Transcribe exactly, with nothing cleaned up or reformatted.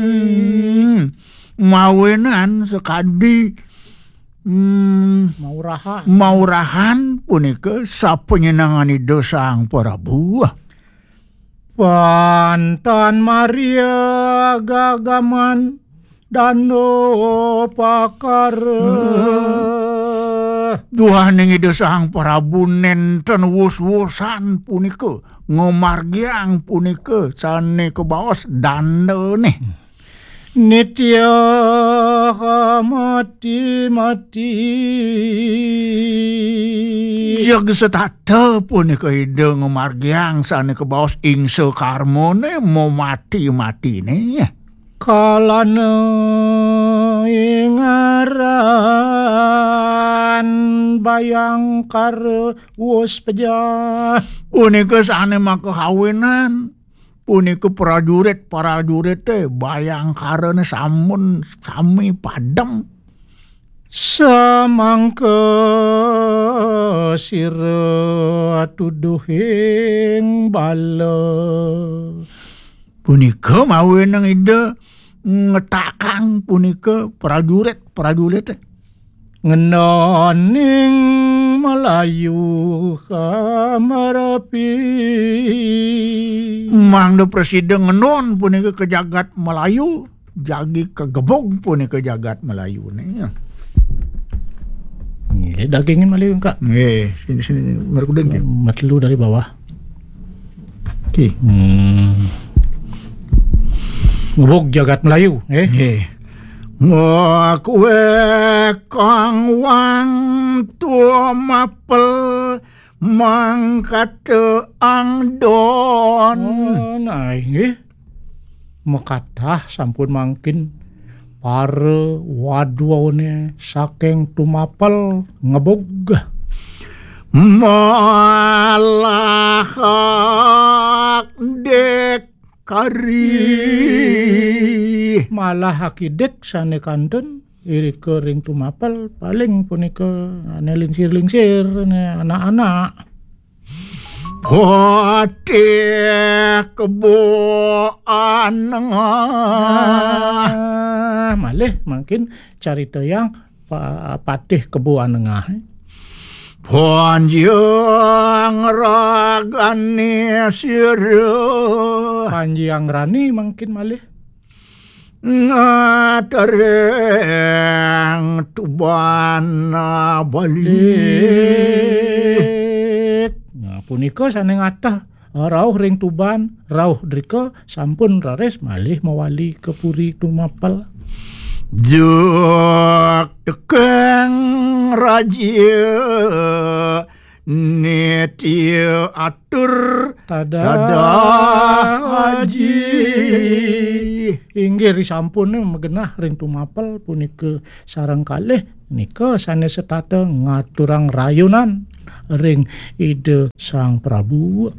Hmm, mawinan sakadi, hmm, maurahan. Maurahan punika sapanyenengan Ida Sang Prabu. Pantan Maria gagaman dano pakara. Duaning Ida Sang Prabu nenten wus-wusan punika, ngamargiang punika sane kabaos dandane. Nitya mati-mati. Jeg setata punika Ida ngamargiang sane kabaos ingsa karmane mamati-matine. Kalana ingaran bayangkara wus pejah. Punika sane makahawinan. Punika prajurit-prajurite bayangkarane sampun sami padem. Samangka sira tuduhing bala. Punika mawinan Ida ngetakang punika prajurit-prajurite. Ngenoning Melayu kamarapi. Mangda prasida ngenon punika ka jagat Melayu, jagi kagebug punika jagat Melayune. Nggih, dagingin malih, Kak. Nggih, sini, sini, merkuding, nggih. Matelu dari bawah. Nggih. Hmm. Ngebug jagat Melayu, eh? Nggih. Ngakwe kang wang tumapel mangkata angdon. Oh, nah, nggih. Mekatah sampun mangkin para wadwane saking tumapel ngebug. Malah dik kari. Malah akidik sane kantun irika ring tumapel paling punika ane lingsir-lingsir, ane anak-anak. Patih kebo anengah. Ah, malih mangkin carita yang pa-, patih kebo anengah. Panjang ragane sira. Panjang rani mangkin malih. Ngatereng Tuban Bali. Nah, punika sane ngatah rauh ring Tuban, rauh drika sampun raris malih mawali ka puri tumapel. Jek tekeng raja nitya atur tadah tadah haji. Haji. Inggih risampun magenah ring tumapel punika sareng kalih nika sane setata ngaturang rayunan ring Ida Sang Prabu.